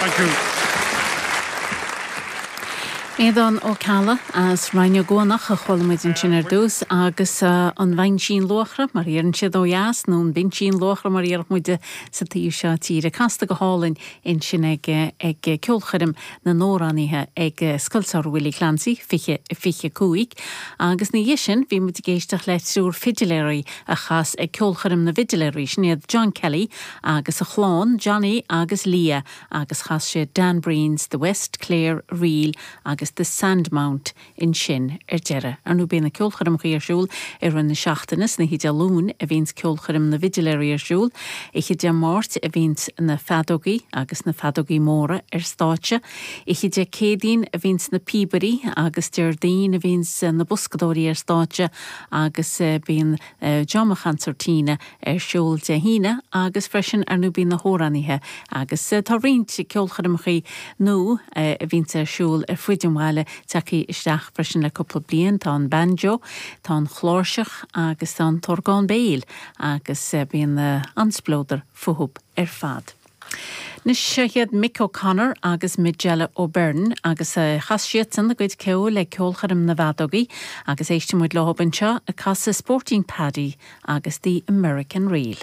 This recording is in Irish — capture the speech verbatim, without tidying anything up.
Thank you. Aodán Ó Ceallaigh as Rinn Ó gCuanach a chuala muid ansin ar dtús agus uh, an Bheinsín Luachra mar iarann siad ó dheas nó an Binsín Luachra mar iarach muide sa taobh seo tíre casta go hálainn ansin ag ag ceolchoirm na n-amhránaithe ag Scoil Samhraidh Willie Clancy fiche fiche cúig agus ina dhiaidh sin bhí muid ag éisteacht le triúr fidiléirí a chas ag ceolchoirm na bhfidiléirí sin iad John Kelly agus a chlann Johnny agus Leah agus chas sé Dan Breen's The West Clare Reel agus The Sandmount ansin ar deireadh. Ar ndóigh bíonn na ceolchoirmeacha ar siúl ar an na seachtaine san oíche Dé Luain a bhíonns ceolchoirm na bhfidiléirí ar siúl, Oíche Dé Máirt a bhíonns na feadógaí agus na feadógaí móra ar stáitse, Oíche Dé Céadaoin a bhíonns na píobairí agus Déardaoin a bhíonns na boscadóirí ar stáitse agus bíonn dráma consairtín ar siúl Dé hAoine agus freisin ar ndóigh bíonn na hamhránaithe agus tá roinnt ceolchoirmeacha nua a bhíonns ar siúl ar fud an bhaile tagtha isteach freisin le cúpla bliain tá an banjo, tá an chláirseach agus tá an t-orgán béil agus bíonn an-spleodar fúthu ar fad. Anois seo iad Mick O'Connor agus Majella O'Byrne agus chas siadsan a gcuid ceoil le ceolchoirm na bhfeadógaí agus éistfidh muid leo anseo ag casadh Sporting Paddy agus the American Reel.